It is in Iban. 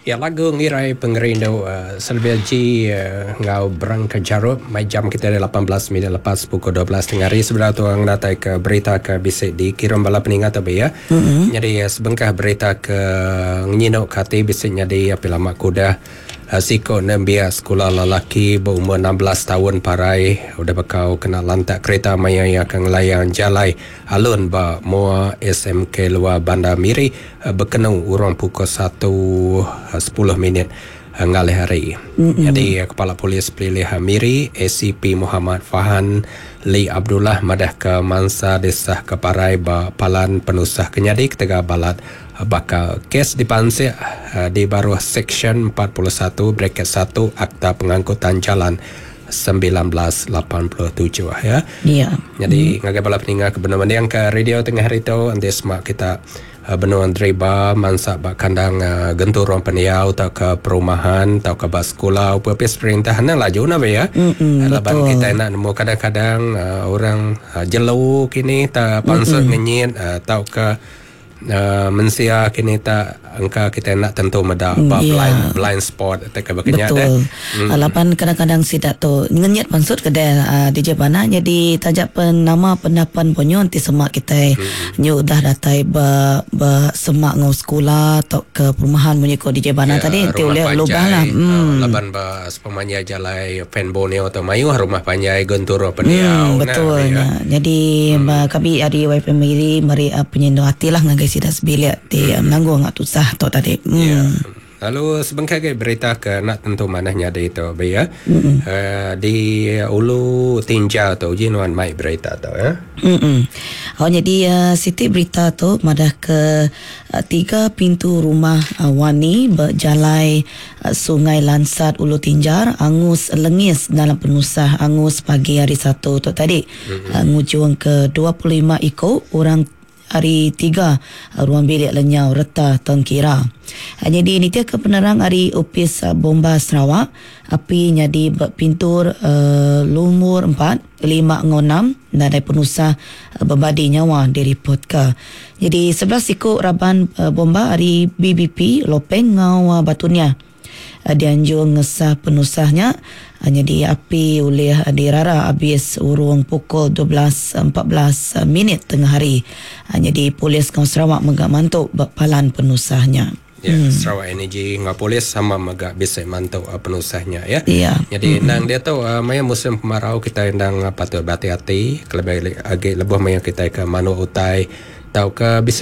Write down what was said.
Ya lagu ngirai pengerindu Sylvia G enggau Berangka Jarup mai jam kita ari 18 minit lepas pukul 12 tengah hari sebedau tu orang datai ke berita ke bisi dikirum bala peninga tu ya. Mm-hmm. Jadi sebengkah berita ke ngenyinu ke ati bisi nyadi api lama ke udah Siku nembiak sekula lelaki beumur 16 taun parai udah bekau kena lantak kerita maya iya ke ngelayang jalai alun ba mua SMK Luar Bandar Miri bekenu urung pukul satu sepuluh minit ngalih hari. Nyadi Kepala Polis Pelilih Miri ACP Muhammad Fahan Lee Abdullah madahka mansa disahka parai ba palan penusah ke nyadi ketegal balat Baka kes dipansik di baruh Seksyen 41 braket satu Akta Pengangkutan Jalan 1987 ya. Ya. Nyadi ngagai bala peninga ke benung mendingka radio tengah hari tu enti sema kita benung deriba mansa ba kandang genturung pendiau tauka perumahan tauka ba sekula opis perintah anang laju nah be ya. Laban kitai enda nemu kadang-kadang orang jelu kini ta pansut ngenyit tauka Mensia kini ta engka kitai enda tentu meda ba blind blind spot te ke baka nya deh. Betul. Laban kadang-kadang sida tu ngenyit pansut ke deh DJ Bana nyadi taja pen nama pendapan ponyo enti sema kitai nyu udah datai ba ba semak enggau sekula tauka perumahan munyi ko DJ Bana tadi enti ulih lubah lah. Laban ba Sepemanjai jalai Pan Borneo tu mayuh rumah panjai genturung pendiau. Hmm, betul nya. Jadi hmm. kami ari YFM Miri meri penyindu ati lah ngagai sida sebilik ti hmm. menanggung ngak tusah tu tadi. Hmm. Yeah. Lalu sebengkah ke berita ke nak tentu manah nyadi tu be ya. Hmm. Di Ulu Tinjau tu uji nuan mai berita tu ya. Hmm. Oh jadi siti berita tu madah ke tiga pintu rumah Wani berjalai Sungai Lansat Ulu Tinjar angus lengis dalam penusah angus pagi hari Satu tu tadi ngujung ke 25 iku orang ari tiga ruang bilik lenyau reta tengkira. Nyadi nitihka penerang ari Opis Bomba Sarawak, api nyadi ba pintur lumur empat, lima enggau enam nadai penusah bebadi nyawa diripotka. Nyadi 11 siku raban bomba ari BBP Lopeng enggau Batu Niah dianjung ngesah penusah nya. Nyadi api ulih dirara abis urung pukul 12 14 minit tengah hari. Nyadi polis enggau Sarawak mega mantu ba palan penusah nya. Ya, Sarawak Energy enggau polis sama mega bisi mantu penusah nya ya. Ya. Nyadi endang diatu maya musim kemarau kitai endang patut berati-ati kelebih agi lebuh maya kitai ke manuk utai tauka bisi.